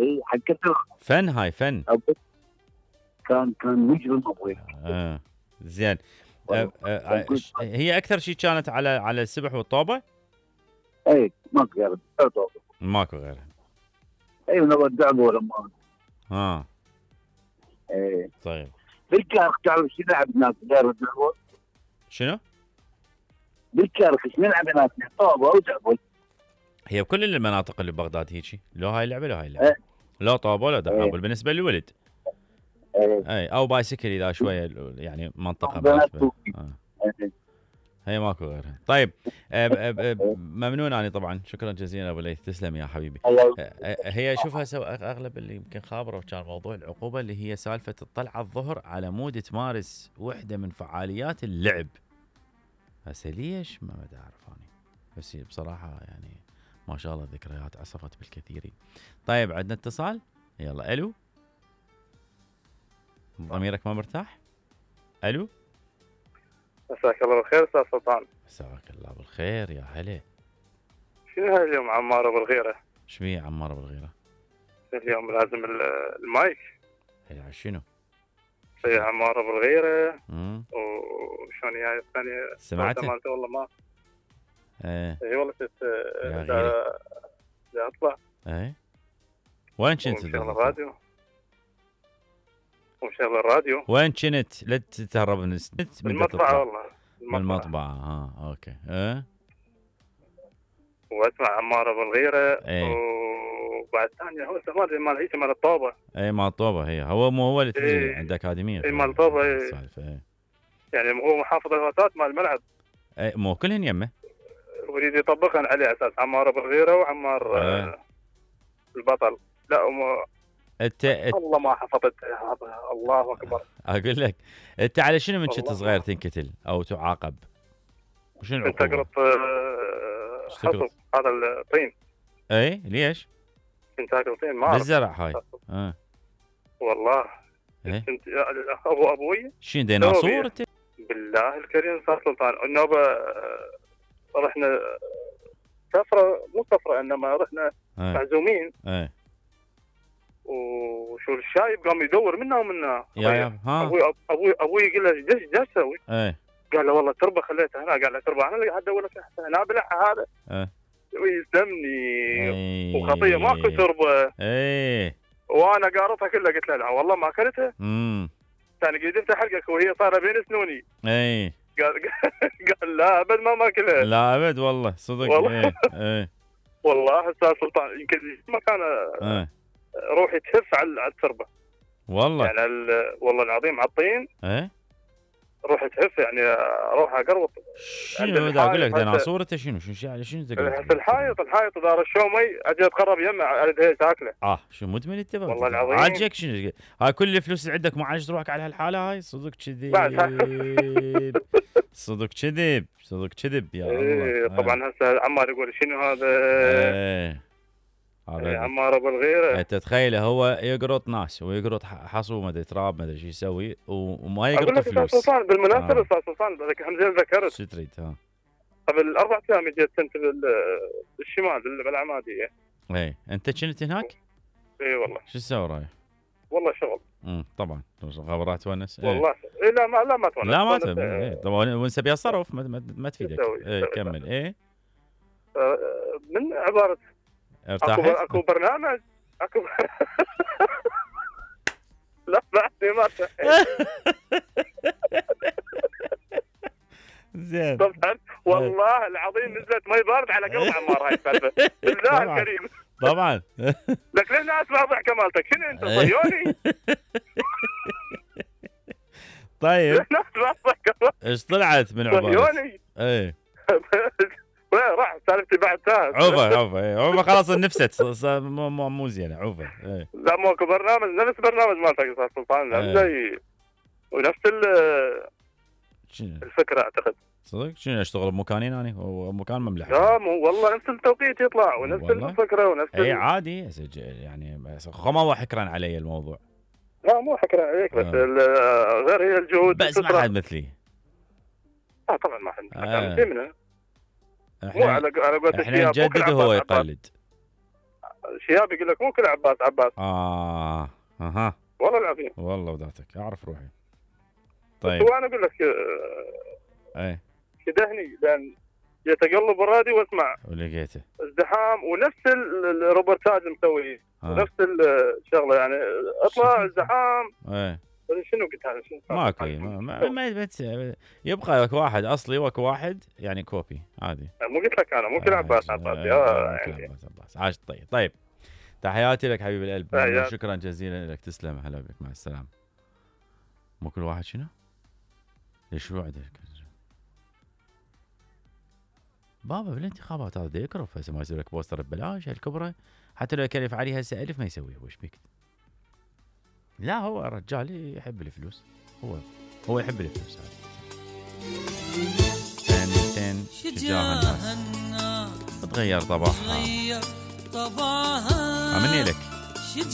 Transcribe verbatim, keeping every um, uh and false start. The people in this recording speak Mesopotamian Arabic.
اي حكيت فن هاي فن. كان كان مجرم ابوي. اه زين. أه أه هي اكثر شيء كانت على على السبح والطوبه؟ اي ماكو غيرها. ماكو غيرها. اي ونودعبه لما اه اي طيب. بالكارخ تعرف شو نلعب هناك غير الدعبه؟ شنو؟ بالكارخ شو نلعب هناك؟ طوبه ودعبه. هي بكل المناطق اللي ببغداد هيجي، لو هاي اللعبه لو هاي اللعبه. ايه. لا طوبه ولا دعابل. ايه. بالنسبه للولد. ايه. اي او بايسكل اذا شويه يعني منطقه مناسبه. آه. ايه. هي ماكو غيرها. طيب أب أب أب ممنون اني طبعا، شكرا جزيلا ابو ليث، تسلم يا حبيبي. هي شوف هسه اغلب اللي يمكن خابره كان موضوع العقوبه اللي هي سالفه الطلعه الظهر على مود تمارس وحده من فعاليات اللعب. هسه ليش ما بدي اعرف اني، بس بصراحه يعني ما شاء الله ذكريات عصفت بالكثيرين. طيب عندنا اتصال، يلا. الو، ضميرك ما مرتاح؟ الو، مساك الله بالخير استاذ سلطان. مساك الله بالخير يا هلا. شنو هاي اليوم عمار ابو الغيره؟ شو بيه عمار ابو الغيره؟ اليوم لازم المايك. هي شنو؟ هي عمار ابو الغيره. امم وشلون هاي الثانيه سمعتها؟ مالته والله ما ايه اي والله كنت بدي اطلع. ايه وين كنت؟ مشغل الراديو ومشغل الراديو. وين كنت؟ لا تتهرب من النت. بالمطبعة والله. بالمطبعة. ها آه. اوكي. ايه واسمع عمار ابو الغيره. ايه وبعد ثانيه هو استعمال مال هيك مال الطوبه. اي مال الطوبه. هي هو مو هو اللي ايه عند اكاديميه. اي مال الطوبه. ايه يعني هو محافظ الهوسات مال الملعب. اي مو كلهن يمه. اريد يطبقهن عليه اساس عمار ابو الغيره وعمار ايه. البطل. لا وما انت والله ما حفظت. الله اكبر. اقول لك انت على شنو من كنت صغير تنكتل او تعاقب؟ وشنو كنت اقرط حصب هذا الطين. اي ليش؟ كنت اقرط طين ما بالزرع هاي. اه والله. ايه؟ كنت ابو ابوي شنو ديناصور انت؟ بالله الكريم صار سلطان. النوبه رحنا سفره، مو سفره انما رحنا معزومين. ايه وشو الشايب قام يدور منا ومنا. يا يا ها ابوي ابوي ابوي يقول له ايش ايش تسوي؟ ايه قال له والله تربه خليتها هنا. قال له تربه انا اللي قاعد ادور لك هنا بلعها هذا. ايه ويسلمني. ايه وخطيه ماكو تربه. ايه وانا قارطها كلها. قلت له لا والله ما اكلتها. امم ثاني قدمت حلقك وهي صار بين سنوني. ايه قال قال لا ابد ما ماكلها. لا ابد والله صدق. والله. ايه ايه والله استاذ سلطان يمكن ما كان ايه روحي تهف على التربه والله. يعني والله العظيم على الطين. ايه روحي تهف يعني اروح اقرط. شنو دا اقول لك ديناصور انت؟ شنو شنو على شنو تقول؟ الحائط الحائط اذا رشوا مي اجي اتقرب يمه اريد هي تاكله. اه شو مدمن انت؟ والله العظيم عاجك شنو؟ هاي كل الفلوس اللي عندك ما عايش روحك على هالحاله هاي؟ صدق كذب. صدق كذب صدق كذب يا الله. ايه طبعا هسه عمار يقول شنو هذا؟ ايه هذا عمار ابو الغيره. انت تخيله هو يقرط ناس ويقرط حصو ما ادري تراب ما ادري شو يسوي وما يقرط فلوس. استاذ سلطان بالمناسبه استاذ سلطان هم زين ذكرت. شو تريد؟ ها قبل اربع ايام جيت كنت بالشمال بالعماديه. ايه انت كنت هناك؟ اي والله. شو تسوي رايح؟ والله شغل. امم طبعا خبرات تونس. ايه. والله إيه لا ما لا ما تونس. لا ما تونس. ايه طبعا ونسى بيها صرف ما, ما تفيدك. ايه كمل. ايه آه من عباره ارتاحت؟ اكو اكو برنامج اكو لا بعدني ما زين. طبعا والله العظيم نزلت مي بارد على قلب عمار هاي السالفه. بالله الكريم. طبعا. لك ليش لا اسمع ضحكه مالتك؟ شنو انت صهيوني؟ طيب ايش طلعت من عباره؟ صهيوني. ايه راح سالفتي بعد ساعه. عوفه عوفه ايه عوفه خلاص نفست مو مو مو زينه عوفه. ايه لا مو اكو برنامج نفس برنامج مالتك استاذ سلطان. زي ونفس الفكره اعتقد. صدق؟ شنو اشتغل بمكانين اني ومكان مملح؟ لا مو والله نفس التوقيت يطلع ونفس الفكره ونفس اي عادي يعني ما هو حكرا علي الموضوع. لا مو حكرا عليك بس آه. غير هي الجهود. بس ما حد مثلي. اه طبعا ما حد مثلي. مو على على قولتك احنا نجدد وهو يقلد. شياب يقول لك مو كل عباس عباس. اه اها والله العظيم. والله وذاتك اعرف روحي. طيب هو انا اقول لك ايه كدهني لان جيت اقلب الراديو واسمع ولقيته ازدحام ونفس الروبرتاج مسوي آه. نفس الشغله يعني اطلع ازدحام. ايه شنو قلت هذا شنو ماكو ما ما, ما يبقى لك واحد اصلي واكو واحد يعني كوبي عادي. مو قلت لك انا مو كل عباس عباس اه يعني عباس عباس عاش. طيب طيب تحياتي لك حبيب القلب. شكرا جزيلا لك تسلم. هلا بك مع السلامه. مو كل واحد شنو؟ ليش شو عندك بابا بالانتخابات هذا يكرف هسه ما يسوي لك بوستر ببلاش هالكبره حتى لو يكلف عليه هسه ألف ما يسويه. وش بيك؟ لا هو رجال يحب الفلوس. هو هو يحب الفلوس هذا. تن تن شجاع الناس تغير طبعها. مني لك